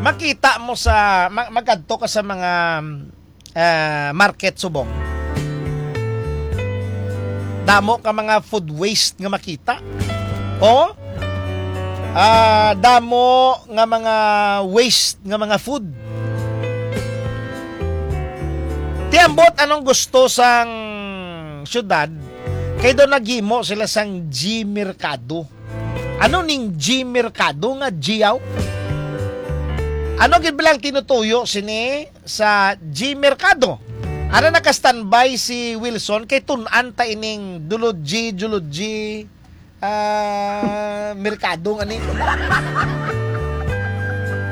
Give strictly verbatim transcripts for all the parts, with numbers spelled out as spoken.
Makita mo sa, ma-, magadto ka sa mga, ah, market subong. Damo ka mga food waste nga makita. O, ah, damo nga mga waste nga mga food. Ti ambot anong gusto sang syudad, kay daw naghimo sila sang G Merkado. Ano ning G Merkado nga G yaw? Ano gid ba lang tinutuyo sini sa G Merkado? Ara, naka-standby si Wilson kay tun-an ta ining Dulodji, Dulodji, ah, Merkado nga ni.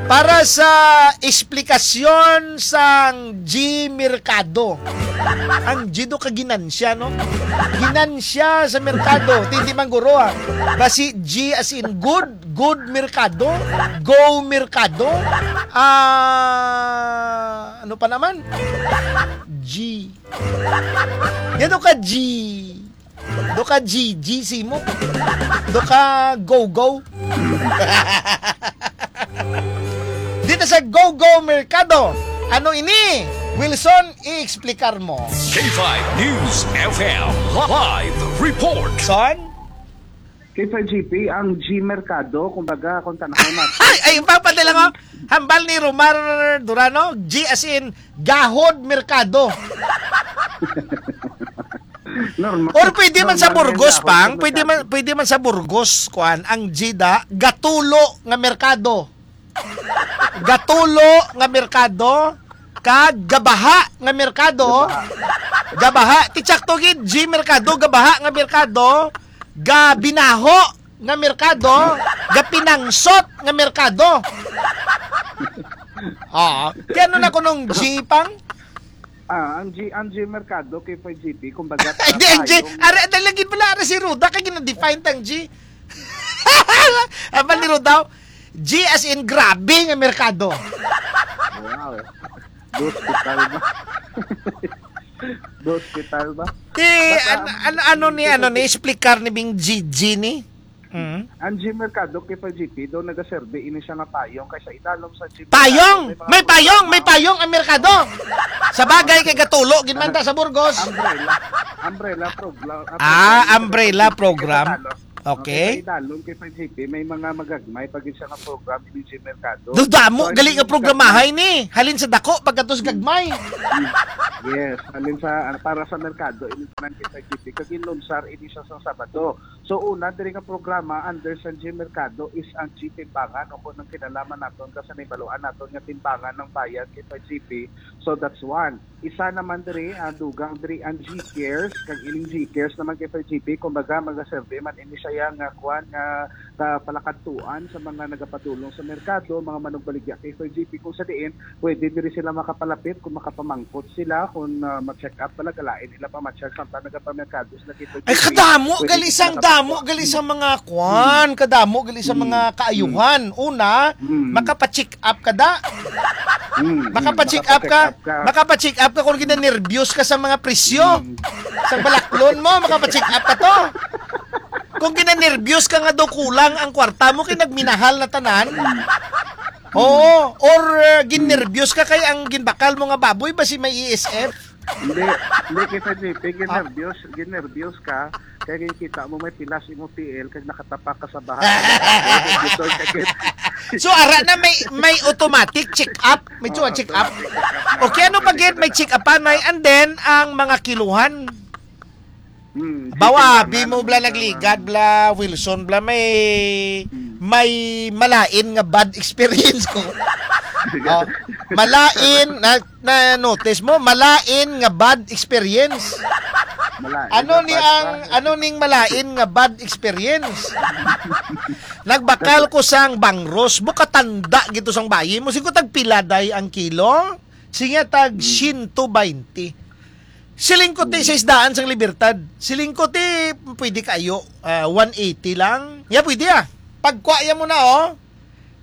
Para sa eksplikasyon sang G Merkado. Ang G do ka ginansya, no? Ginansya sa merkado. Tindi man guro, ah. Basi G as in good, good merkado, go merkado. Ah, ano pa naman? G. Yan ka G. Do ka G G simo. Do ka go-go. Dito sa Go-Go Merkado. Ano ini? Wilson, i-explicar mo. K five News F M live report. Son? K five G P, ang G Merkado, kumbaga, kung tanaw natin. Ay, ay, papadala ko. Hambal ni Romar Durano, G as in, gahod merkado. Normal. Or pwede man sa Normal Burgos, nga pang. Pwede man, gahod merkado. Pwede man sa Burgos, kuan, ang G da, gatulo nga merkado. Gatulo nga merkado, kag gabaha nga merkado. Gabaha. Gabaha. Ti tsakto gid, G merkado, gabaha nga merkado, gabinaho nga merkado, gapinangsot nga merkado. Ah, kaya ano na kunong G pang? Ah, ang G, ang G Merkado, K five G P, kumbaga, Hindi, ang G, payong. Ara, dahil lagi pala, ara si Ruda, kaya gina-define tang G. Ang pala ni Ruda, G as in grabe nga merkado. Wow. Hospital ba? Hospital ba? Ti, Basta an-, ang an-, ano ni, ano ni, explicar ni Bing G G ni? Mm. Ang G Merkado, K five G P, daw nagaserbi ini siya nga payong kaysa idalom sa G Merkado. Payong! May mga May payong! May programa. Payong ang merkado! Sa bagay kay gatulo, gid man ta sa Burgos. Umbrella. Umbrella program. Ah, umbrella program. Sa Tagalog. Okay. Okay, sa idalom kay five G P, may mga magagmay pa gid siya nga program ini G Merkado. Dudamo, So, gali nga ang programahay ni. Halin sa dako, pagkatos gagmay. Yes, halin sa, para sa merkado, ini tanan kay five G P. Kag inlunsar ini siya sa Sabado. So, una, diri nga programa, under sa G Merkado, is ang G Timbangan, o kung ang kinalaman naton, kasi nahibaluan naton nga timbangan ng bayan kay five G P. So, that's one. Isa naman diri, ah, dugang diri ang G Cares, kag ining G Cares naman kay five G P, kumbaga, magaserve man ini siya nga, kuwan, nga, ah, palakadtuan sa mga nagapadulong sa merkado, mga manugbaligya kay five G P, kung sa diin, pwede diri sila makapalapit kung makapamangkot sila, kung, ah, ma-check up pala, galain nila pa ma-check samtang nagapamerkado sila kay five G P. Ay, kadamo, Pwede gali sila sang damo, makapagkuha. gali sang mga kwan, Hmm. kadamo, gali sang Hmm. mga kaayuhan. Una, Hmm. makapacheck up ka da. Hmm. Makapacheck up ka, Makapacheck up ka. makapacheck up ka kung ginanerbyos ka sa mga presyo. Hmm. Sa balaklon mo, makapacheck up ka to. Kung ginanerbyos ka nga daw kulang ang kwarta mo kay nagminahal na tanan. Hmm. Oo, or, uh, Hmm. ginerbyos ka kay ang ginbakal mo nga baboy basi may E S F. Hindi, hindi kita, J P, Ah. ginerbyos, ginerbyos ka, kaya kita mo may pilas imo P L, kag nakatapak ka sa baha. Ito, sakit. So, ara na may, may automatic check-up. May Oo, check-up. automatic check-up na. Okay, ano pa gid? May check-up pa, nay. And then, ang mga kiluhan. Hmm, Bawa, chicken abi man, mo, bla, ano, nagligad, bla, Wilson, bla, may, Hmm. may malain nga bad experience ko. Oh, malain, na, na-notice mo, malain nga bad experience. Malain Ano nga ni bad ang, ba? ano ning malain nga bad experience? Nagbakal ko sang bangros, bukatanda gito sang bayi mo. Sigo tagpila day ang kilo? Siya tag Hmm. siyento baynte. Siling ko ti Hmm. sa isdaan sang Libertad. Siling ko ti pwede kayo, ah, one eighty lang. Ya, pwede ah. Pagkwa ya mo na, oh.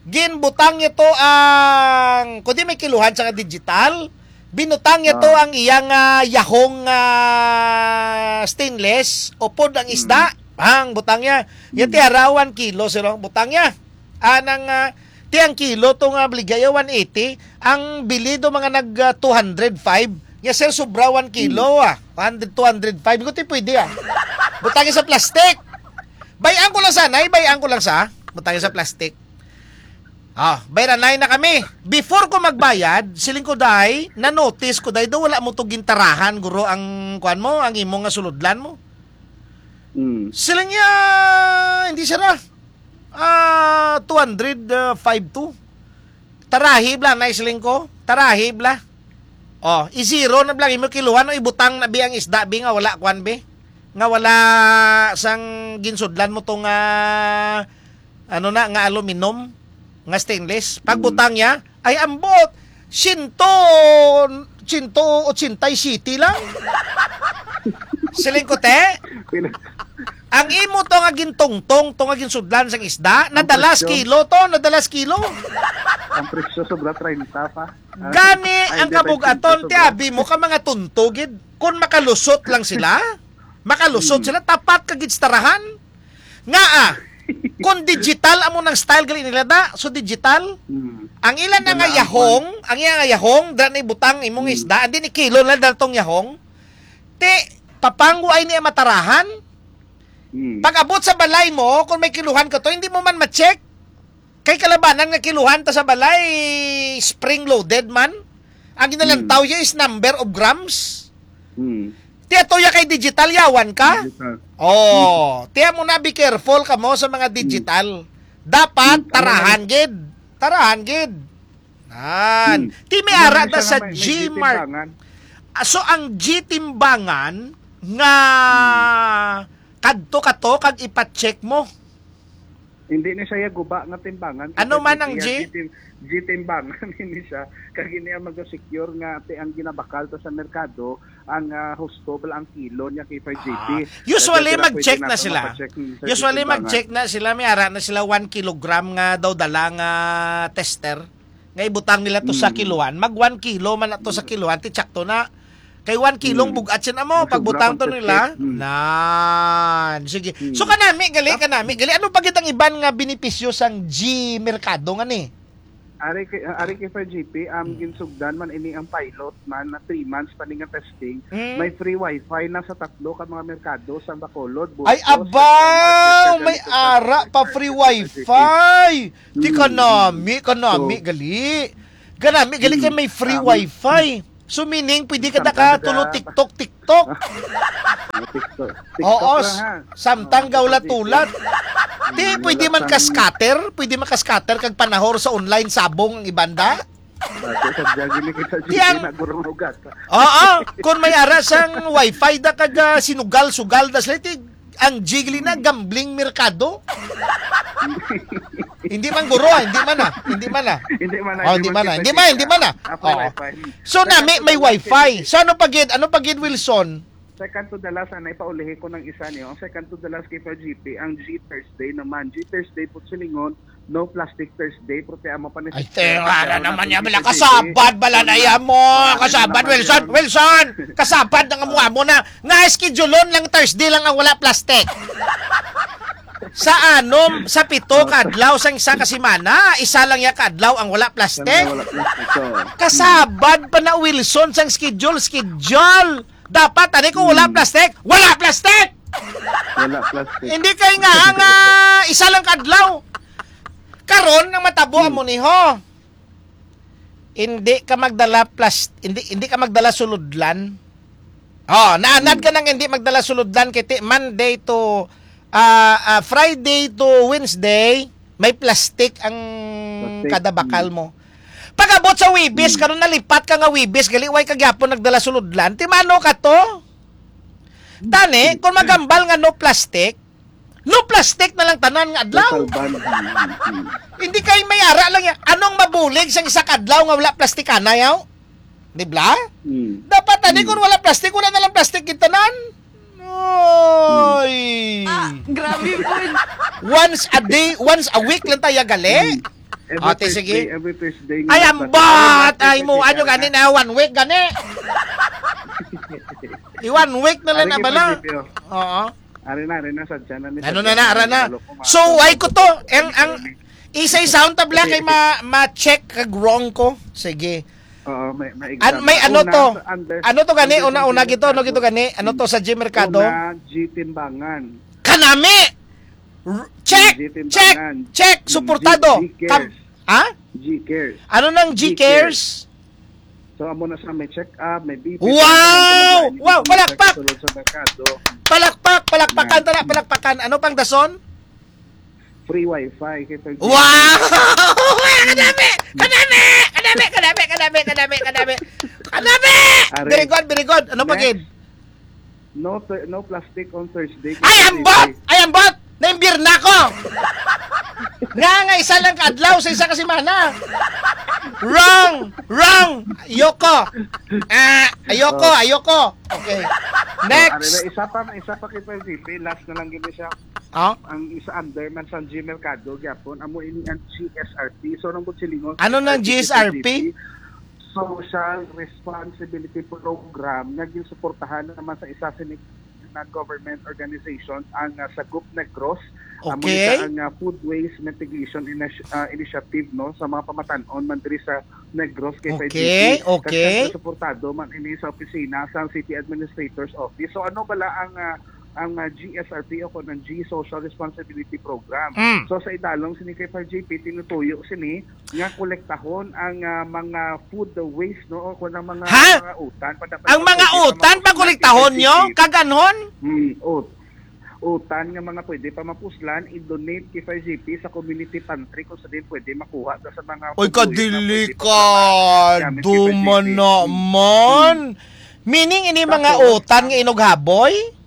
Ginbutang niya to ang, kundi may kiluhan sa digital. Binutang niya to Ah. ang iyang, ah, yahong, ah, stainless. Upod ang Mm. isda. Ang butang niya. Yan Mm. ti harawan kilo, sir, oh. Butang niya. Anang, ah, Ti ang kilo to nga baligya, one eighty. Ang bili do mga nag, ah, two hundred five. Nya, sir, sobra one kilo, ah. One hundred, two hundred five. Ko, ti pwede, ah. Butangi sa plastic. Bayan ko lang sa, nay, bayan ko lang sa. Butangi sa plastic. Ah, bayranay na kami. Before ko magbayad, siling ko, day, na-notice ko, day, do wala mo to gintarahan, guro, ang kuan mo, ang imo nga sulodlan mo. Mm. Siling niya, hindi, sir, ah. Ah, two hundred five two. Tarahi bla, na siling ko. Tarahi bla. Oh, i-zero na bla, imo kiluhan, no, ibutang na bi ang isda, bi, nga wala, kuan, bi. Nga wala sang ginsudlan mo to nga, ano na, nga aluminum, nga stainless. Pagbutang niya, ay, ambot, siento, siento ochenta y siete lang. Siling ko, te, Pila? Ang imo to nga gintungtong, to nga ginsudlan sang isda, Ang nadalas presyo. kilo to, nadalas kilo. Ang presyo sobra treinta pa. Ah, Gani ay, ang hindi, kabugaton, treinta ti sobra. abi mo ka mga tunto gid. Kung makalusot lang sila, makalusot Hmm. sila, tapat ka gid sa tarahan. Nga, ah, kung digital amo nang style gali nila da, so digital. Hmm. Ang ila na Wala nga ang yahong, ang iya nga yahong, dra na ibutang imong Hmm. isda, and then ikilo na datong yahong. Ti, papanggo ay niya matarahan. Hmm. Pag-abot sa balay mo, kung may kiluhan ka to, hindi mo man ma-check. Kay kalabanan nga kiluhan ta sa balay, spring-loaded man. Ang ginalantaw Hmm. niya is number of grams. Hmm. Ti ato ya kay digital, yawan ka? Digital. Oh, tiya mo na, be careful ka mo sa mga Hmm. digital. Dapat Hmm, ano tarahan gid. Tarahan gid. Nan. Hmm. Ti may Ano ara na ta siya sa nga may, may G Mart. gitimbangan? Ah, so ang G timbangan nga Hmm. kadto ka to kag ipa-check mo. Hindi ni siya guba nga timbangan. Ano man ang G P, G? G T, G T ang bangan ini siya. Kag ini ang mag-secure nga ti ang ginabakal to sa merkado, ang, ah, husto bala ang kilo niya kay five G P. Ah, usually, Kaya sila mag-check pwede na nato sila. mapacheck, hmm, sa Usually, timbangan. mag-check na sila. May ara na sila one kilogram nga daw dala nga tester. Nga ibutang nila to sa Mm. kiluhan. Mag one kilo man na to sa Mm. kiluhan, ti tsakto na. Kay one kilong Mm. bugat siya na mo, Mas pagbutang sobra to kung nila. check. Mm. Nan, sige. Mm. So, kanami, gali, Tap- kanami, gali. Ano pa gid ang iban nga benepisyo sang G Merkado nga ni? Ari kay, ari kay Fire G P, um, Mm. ginsugdan man ini ang pilot man na three months pa ni nga testing. Mm. May free wifi na sa tatlo ka mga merkado sa Bacolod, Ay, Burgos, abaw! May ara pa free wifi! Di Mm. kanami, kanami, So, gali. Kanami, gali kay mm. may free Ah, wifi. So, meaning, pwede ka Samtang naka tulo naka- TikTok, TikTok. Ah, TikTok. TikTok Oo, lang, ha? samtang Oo, gawla TikTok. tulat. Di, Mm, pwede wala man ka sang scatter, pwede man ka scatter kag panahor sa online sabong ang ibanda. Ah, so, sa jogging ni kita, Di ang sige, nagurong ugat. Oo, kung may ara sang wifi da kag, ah, sinugal-sugal da sila, ti, ang jigli na, Mm. gambling merkado. Hindi man, guro, ah, hindi man, ah, hindi man, ah. Hindi man, Oh, hindi hindi man, man, ah. Hindi man, hindi man, ah. Ako, Oh. wifi. So, Second nami, to may the last wifi. kay So, ano pa gid? Ano pa gid, Wilson? Second to the last, anay, paulihi ko ng isa niyo. Ang second to the last kay Fire G P, ang G Thursday naman. G Thursday po silingon, no plastic Thursday, pero ti amo pa ni Ay, Sister, te, ara ano naman na niya, po bala, si G P. kasabad, bala na Wala iya mo. na Kasabad, naman Wilson, yan. Wilson! Kasabad na nga mo, Ah. amo na. Nga, schedule-on lang Thursday lang ang wala plastic. Sa anom, sa pito Oh. ka adlaw sang isa ka semana, isa lang ya ka adlaw ang wala plastic. Wala plastic, oh. Kasabad pa na, Wilson, sang schedule, schedule. Dapat, ani, kung wala Hmm. plastic, wala plastic! Wala plastic. Hindi kay nga ang, ah, isa lang ka adlaw. Karon, ang matabo Hmm. amo ni, ho. Hindi ka magdala plas-, hindi, hindi ka magdala sulodlan. Oh, naanad Hmm. ka nang hindi magdala sulodlan kay ti-, Monday to, ah, ah, Friday to Wednesday, may plastic ang Plastic. kada bakal Hmm. mo. Pag-abot sa Webes, Hmm. karon nalipat ka nga Webes, gali, way ka gyapon nagdala sulodlan. Ti mano ka to? Tani, kung magambal nga no plastic, no plastic na lang tanan nga adlaw. Total ban. Hmm, hmm. Hindi kay may ara lang yan. Anong mabulig sang isa ka adlaw nga wala plastic anay, yaw? Di bla? Hmm. Dapat tani Hmm. kung wala plastic, wala na lang plastic gid tanan. Oy. Ah, grabe po. Once a day, once a week lang tayo gali. Hmm. Every Ate, Thursday, sige. every Thursday Ay, nga ambat! Ay, mo, ano gani na, one week gani? I one week na lang Ari na kay bala. Pwede, Pio. Oo. Ari na, ari na, sadya na ni Ano sadya na na, na, ara na. Lalo ko, So, mga ay ko to. Ang, ang, Isa-isa unta bala kay ma ma-check kag wrong ko. Sige. Oo, may may An exam. May ano Una, to? Under Ano to gani? Under Una, una G T gito, ano gito Mercado. Gani? Ano to sa G Mercado? Una, G Timbangan. Kanami! R- Check! G Check! Timbangan. Check! Mm, Suportado! G Cares. Kam- Ha? G Cares. Ano nang G Cares. G Cares? So, amo na sa may check-up, may B P, Wow! may Wow! may Palakpak! Sulod sa merkado. Palakpak! Palakpakan! Yan. Tara, palakpakan! Ano pang dason? Free wifi kay Sir Wow! Jimmy. Kanami! Kanami! Kanami! Kanami! Kanami! Kanami! Kanami! Are. Very good, very good. Ano pa, Next. Gid? No, no plastic on Thursday. Ay, ambot! Ay, ambot! Naimbir na ko! Nga, nga isa lang ka adlaw sa isa ka semana. Wrong! Wrong! Ayoko! Ah, ayoko, Oh. ayoko! Okay. Oh, Next! Ano na, isa pa, isa pa kay Sir J P, last na lang gini siya. Oh? Ang isa under man sa G Mercado, gyapon, amo ini ang G S R P. So, nang silingon Ano sa nang G S R P? G S R P? Social Responsibility Program nga ginsuportahan naman sa isa sini na government organization ang, ah, Sagop Negros. Amo Okay. Kita ang, ah, food waste mitigation initi-, ah, initiative, no, sa mga pamatan-on man diri sa Negros kay Okay, Faycity. Kag okay. Siyempre, suportado man ini sa opisina sa City Administrator's Office. So ano bala ang, ah, ang, ah, G S R P o kung ang G Social Responsibility Program? Mm. So sa idalom sini kay Fire G P, tinutuyo sini nga kolektahon ang, ah, mga food waste, no? O kung ang mga, Ha? mga utan, pa dapat Ang mga pwede pa utan mapusunan pakolektahon kay nyo? P G P. Kaganhon? Hmm, ut-, utan nga mga pwede pa mapuslan, i-donate kay Fire G P sa community pantry kung sa din pwede makuha ta sa mga Oy, pagbuyo na pwede pa naman gamit kay kadili ka. Fire G P. Dumana Hmm. man. Meaning, ini mga Tapos, utan nga ang inughaboy?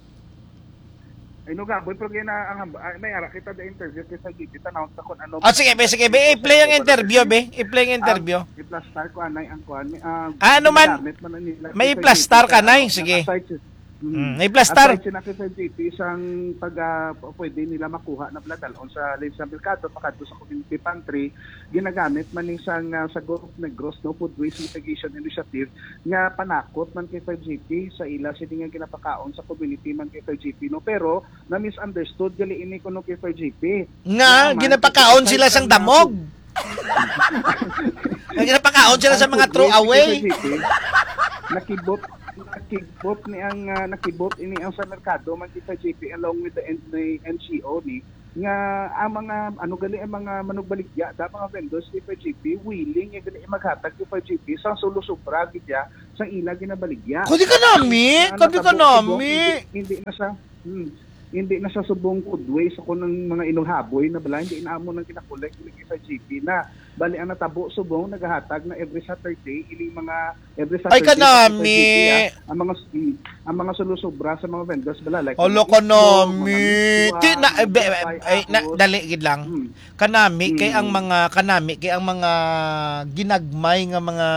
Ay, no, gaboy, pero gina, ang hamba, ay, may ara kita the interview kay Fire G P, tanaw sa kung ano. Ah, sige, be, sige, be, i-play ang interview, be. I-play ang interview. Ang, i-plastar ko, anay, ang kuan, may, ah, Ah, ano man? Ginagamit man na nila May kay Fire G P i-plastar ka, sa, nay? ano, Sige. aside sa, mm, Mm, i-plastar. Aside sa na kay Fire G P, isang pag, ah, p-, pwede nila makuha na bala dalon sa, sa merkado, pakadto sa community pantry, ginagamit man ni sang, ah, sa Gulf Negros, no, Food Waste Mitigation Initiative, nga panakot man kay Fire G P sa ila sini nga ginapakaon sa community man kay Fire G P, no? Pero na-misunderstood gali ini kuno kay Fire G P. Nga Nga man, ginapakaon kay sila sang Fire G P damog. Nga ginapakaon sila sa Ang mga food waste throwaway. Kay Fire G P, nakibot, nakibot ni ang, ah, nakibot ini ang sa merkado man kay Fire G P along with the N-, the N G O ni nga ang mga, ano gali, ang mga manugbaligya, da, mga vendors ni Fire G P, willing nga gali maghatag kay Fire G P sa sulo-sobra gid ya sa ila ginabaligya. Kadi ka nami, Ang kadi ka natabo subong, nami. Hindi, hindi na siya, hmm, hindi na siya subong food waste sa kunang mga inughaboy na bala, hindi na amo nang kinakolek ni Fire G P na. Bali, ang natabo subong, nagahatag na every Saturday, ining mga, every Ay, Saturday sa kanami. Saturday, ah, ang mga, mm, ang mga sulo-sobra sa mga vendors, bala, like, Hala, mga itlog, mga kanami. miswa, Ti na, eh, mga be-, eh, tinapay, eh, na, ahos. dali gid lang. Mm. Kanami kay ang Mm. mga, kanami kay ang mga ginagmay nga mga,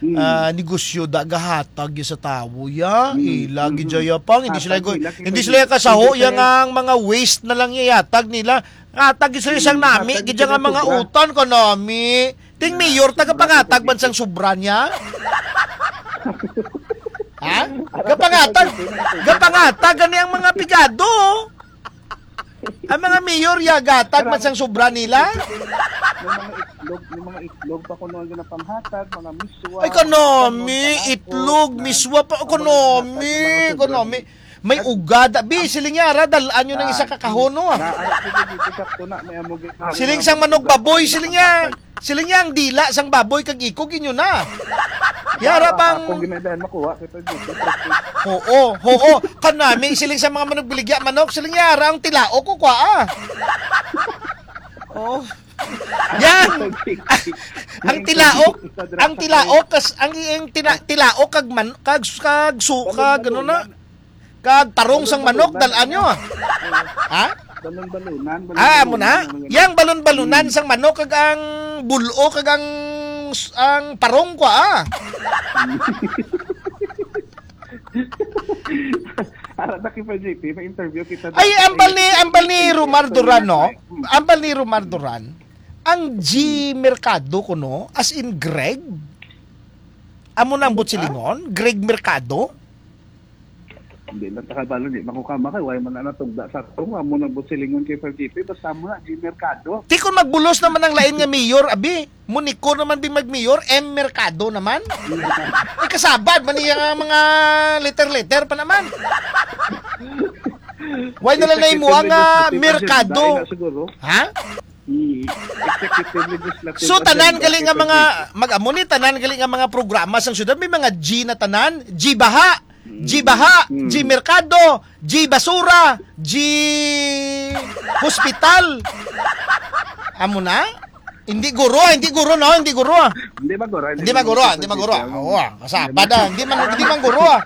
Mm. ah, negosyo da gahatag gyud sa tawo, ya. Mm. Ila gid Mm. ya pang, hindi sila Hatag go-, nila kay hindi sila Faycity. kasaho, Hindi ya sila nga ang mga waste na lang ihatag nila. Hatag gyud sila sang Mm. nami, Hatag gid ya nga sila mga sobra. utan, kanami. Ting Na, mayor, sobra tagapangatag sa man sang sobra niya? Ha? Ara, Gapangatag, sa sobra. gapangatag gani ang mga pigado. Ang mga mayor, ya, gatag man Ara, sang sobra nila. May mga itlog, may mga itlog pa kuno ang ginapanghatag, mga miswa, Ay, mga kanami, kanon, panakot, itlog, na miswa pa, ang mga kanami, ginhatag sa mga sobra. kanami. May At ugada. Bi, siling niya, ara, dalaan nyo ng isa Ah, ka kahon, no, ah. na, ah, sige, sige, sakto na, may amo gid. Siling sang manok baboy, siling niya. Siling niya, ang dila sang baboy kag ikog inyo na. Yara Ah, pang ako ginadaan makuha, kay Fire G P, trusted. Oo, oo. Kanami, siling sa mga manugbaligya manok, siling niya, ara ang tilaok ko, kwa, ah. Oh. Yan. Ang tilaok, ang tilaok, kas-, ang, ang tina-, tilaok kag man-, kag, kag su-, kag, ano na? Kag tarong sang manok, dal-an nyo, ah. Ha? Balon-balunan, Ah, amo na? balon-balunan, ano, Yang balon-balunan Hmm. sang manok, kag ang bulo, kag ang, ang parong kwa, ah. Ara na kay Fire G P, may interview kita Ay, dapat ambal ay ni, ambal ni Romar Duran, no? Hmm. Ambal ni Romar Duran. Ang G Mercado kuno, as in Greg? Amo na ang Ano ka? Butsilingon? Greg Mercado? Hindi lang takabalo, di makukama kay why man na natugda sa ato. Amo nang busilingon kay Sir G P, basta mo na, G Mercado. Ti kon magbulos naman ang lain nga mayor, abi, Monico naman di mag-mayor, M Mercado naman. Ay, kasabad man niya nga mga letter-letter pa naman. Why na lang na imo ang, ah, Mercado? Dahil na siguro. Ha? Hmm. Executive, legislative, So, tanan agenda, gali nga mga, executive. Mag-amo ni, tanan gali nga mga programa sang syudad, may mga G na tanan, G Baha, G Baha, Mm. G Merkado, G Basura, G Hospital. Amo na? Hindi guro, hindi guro, no? Hindi guro. Hindi maguro, Hindi maguro, hindi maguro. Oo, ah, kasabad, ah. Hindi man, hindi man guro, ah.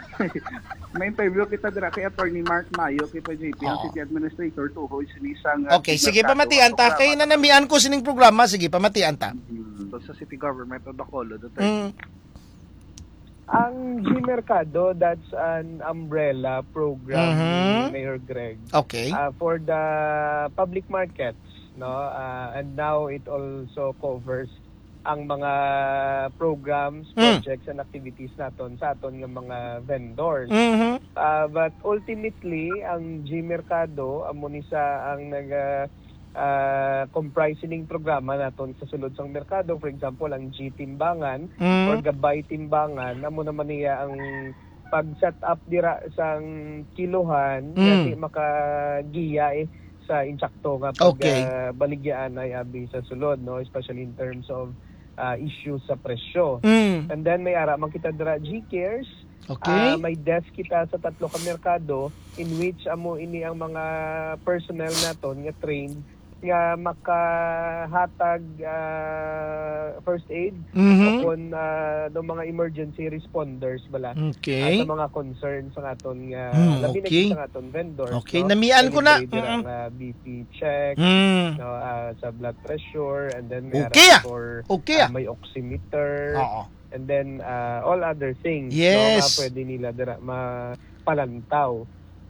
May interview kita dira kay Attorney Mark Mayo, kay pa J P, ang Oo. City Administrator, tuhoy sini sang, ah, Okay, sige, Mercado, pamatian ta. Kay nanamian ko sining programa, sige, pamatian ta. Mm. So, sa City Government of Bacolod, Attorney. Mm. Ang G Mercado, that's an umbrella program Mhm. ni Mayor Greg, Okay. ah, for the public markets, no? Ah, and now it also covers ang mga programs, Mm. projects, and activities naton sa aton nga mga vendors. Mhm. Ah, but ultimately, ang G Mercado amo ni sa ang naga-, ah, comprise sining programa naton sa sulod sang merkado. For example, ang G Timbangan Mm. or Gabay Timbangan, amo naman niya ang pag-set up dira sang kilohan, Mm. nga di makagiya, eh, sa insakto nga pag, Okay. ah, baligyaanay abi sa sulod, no? Especially in terms of, ah, issues sa presyo. Mm. And then may ara man kita dira, G Cares. Okay. Ah, may desk kita sa tatlo ka merkado in which amo ini ang mga personnel naton nga trained nga makahatag, ah, first aid Mhm. o kon, ah, do mga emergency responders bala, Okay. ah, sa mga concerns sa aton nga, Hmm, labi na okay. Sa aton vendors, Okay, no? namian ko na. Delivery dira Mm. nga B P check, Mm. no, ah, sa blood pressure, and then may Okay, ara ah. for, Okay, ah, ah. may oximeter, Oo. and then, ah, all other things, no, Yes. nga pwede nila dira mapalantaw.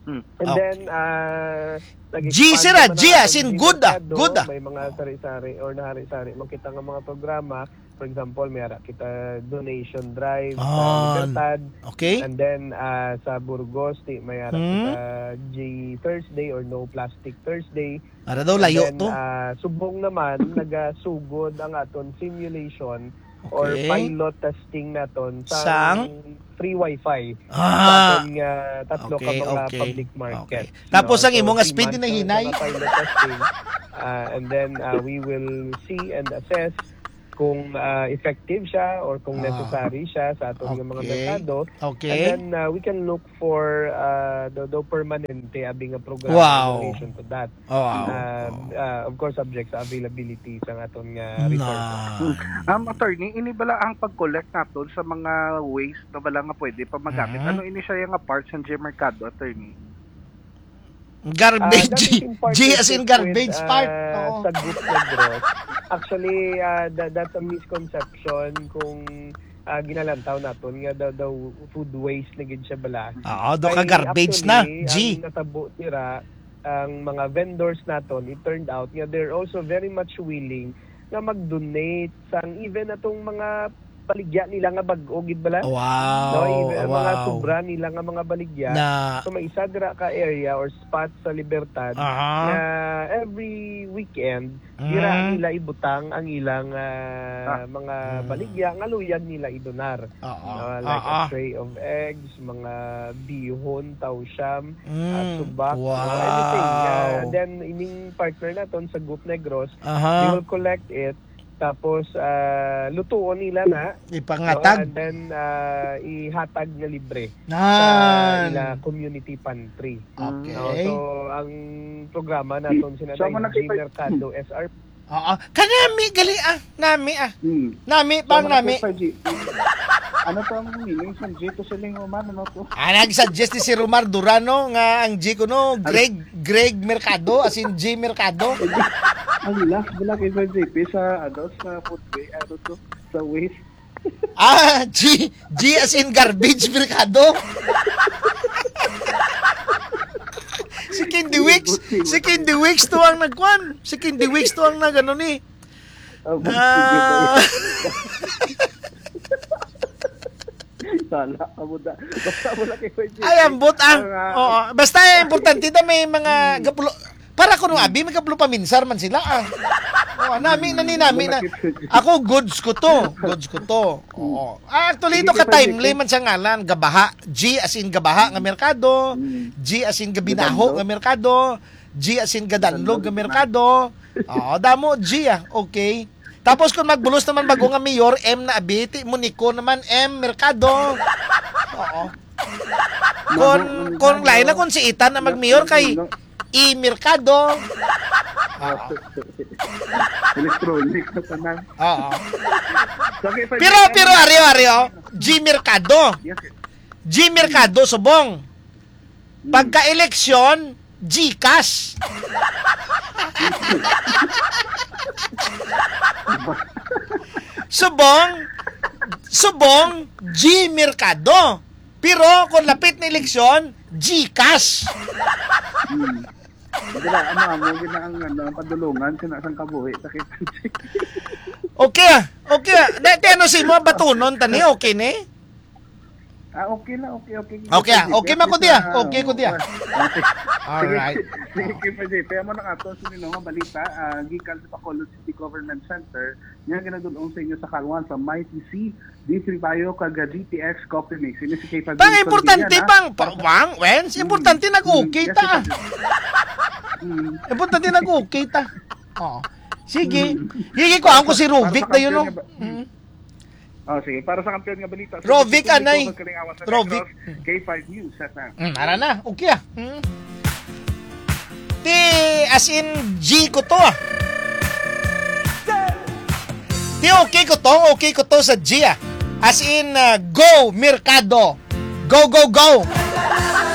Hmm. And Okay. then, ah, nag-expand G, sir, ah, naman G, ang as in aton good, ah. Mercado. Good, ah. May mga Oo. sari-sari or nahari-sari man kita nga mga programa. For example, may ara kita donation drive sa Ah, Libertad. Okay. And then, ah, sa Burgos, di, may ara Hmm. kita G Thursday or No Plastic Thursday. Ara daw, And layo then, to. ah, subong naman, nagasugod ang aton simulation or Okay. pilot testing naton Sang? sang free wifi Ah. sa aton nga tatlo ka Okay, mga okay. public market. Okay. Tapos No? ang So, imo nga three speed months na ang hinay? mga pilot testing. Ah, and then, ah, we will see and assess kung, ah, effective siya or kung Ah. necessary siya sa aton nga mga Okay. merkado. Okay. And then, ah, we can look for, ah, the, the permanente abi nga programa Wow. in relation to that. Wow. Ah, ah, of course, subject sa availability sa aton nga Na. resources. Um, attorney, ini bala ang pag-collect naton sa mga waste na bala nga pwede pa magamit. Mhm. Ano ini siya nga part sa G Mercado, attorney? Garbage. Ah, that is in G as in partnership garbage with, part. ah, Oo. sa Group Negros. Actually, ah, that, that's a misconception kung, ah, ginalantaw naton nga daw, daw food waste na gid siya bala. Oo, do ka Ay, garbage na, actually, G. ang natabo dira, ang mga vendors naton, it turned out nga they're also very much willing nga mag-donate sang even atong mga baligya nila nga bag-o gid bala. Wow, No, even ang mga wow. sobra nila nga mga baligya. Na So, may isa dira ka area or spot sa Libertad Aha. na every weekend, dira Mm. nila ibutang ang ilang, ah, Ah. mga Mm. baligya nga luyag nila idonar. Oo. No, like a Oo. tray of eggs, mga bihon, tawsyam, Mm. ah, subak, Wow. mga anything. Ah, and then, ining partner naton sa Group Negros, Aha. they will collect it, tapos, ah, lutuon nila na, Ipangatag. no? And then, ah, ihatag nga libre sa Nan. ila community pantry. Okay. No? So, ang programa naton sina So, amo na G kita Mercado, S R Oo. Kanami, gali, ah. Nami, ah. Hmm. Nami, So, pang mga nami. Sir G, ano to ang meaning sa G to siling Roman? Ano to? Ah, nag-suggest ni si Romar Durano nga ang G ko, no, Ano? Greg, Greg Mercado, as in G Mercado. Ang last mo lang kay Sir J P sa, ano, sa food wa-, ano to, sa waste. Ah, G, G as in garbage, merkado. Si Candy Wicks, si Candy Wicks to ang nagkuan. Si Candy Wicks to ang nagano ni. Oh, Na- sige ba yun? Sala, amo da. Basta mo lang kay Kuya J P. Ay, ambot, ah. Ang, ah, Oo. Basta, eh, importante na may mga Hmm. gapulo. Para kuno, Hmm. abi, may gapulo paminsar man sila, ah. Oo, nami na ni nami na. Malakit. Ako, goods ko to. Goods ko to. Oo. Ah, actually, Sige, ito ka Kuya J P. Timely man siya ngalan. Gabaha. G as in gabaha nga merkado. Hmm. G as in gabinaho Gadanlog. nga merkado. G as in gadanlog Gadanlog nga na. merkado. Oo, damo, G, ah. Okay. Tapos kung magbulos naman bago nga mayor, M na abiti, Monico naman, M Mercado. Oo. Kung, Naku, kung ano, lain na kung si Itan na magmayor kay naku, E Mercado. Oo. Electronic na tanan. Oo. So, okay, pwede Pero, ka pero, na. Ari, Ari, oh, G Mercado. Yes, sir. G Mercado, subong. Hmm. Pagka-eleksyon, GCash. Subong, subong, G Mercado. Pero kung lapit na eleksyon, GCash. Hmm. Hindi na, ano, amo, gina ang, ano, ang padulungan, sinasang kabuhi, sakit. Okay, ah. Okay, ah. Dati ano si mo, batunon, tani, okay ni? Ah, okay na, okay, okay. Okay, ah. Okay, At least, Kuya. ah, Okay, Kuya. okay. Alright. Sige, sige, Kuya J P. Amo na nga to, sino nga balita, ah, gikan sa Bacolod City Government Center, nga ginadul-ong sa inyo sa Kalwan, sa Mighty C, D three Bio, kag, ah, G T X Coffee Mix. Ini si Kay Pag Pang importante, Pang, pa, Wang, Wens, Mm. importante nag-okay Mm, yes, ta. yes, yes. Mm. Importante nag-okay ta. Oh. Sige. Mm. Sige ko, ako si Para sa Rovic na yun, kampiyon no? nga ba-, Mm. Oh, sige. Para sa kampiyon nga balita, sa Rovic, Distrito anay. Kalingawan sa Rovic. Negros, K five News, F M. Mm, ara na. Okay, ah. Mm. Ti, as in, G ko to, ah. Ti, okay ko to, okay ko to sa G, ah. As in, ah, go, Mercado. Go, go, go.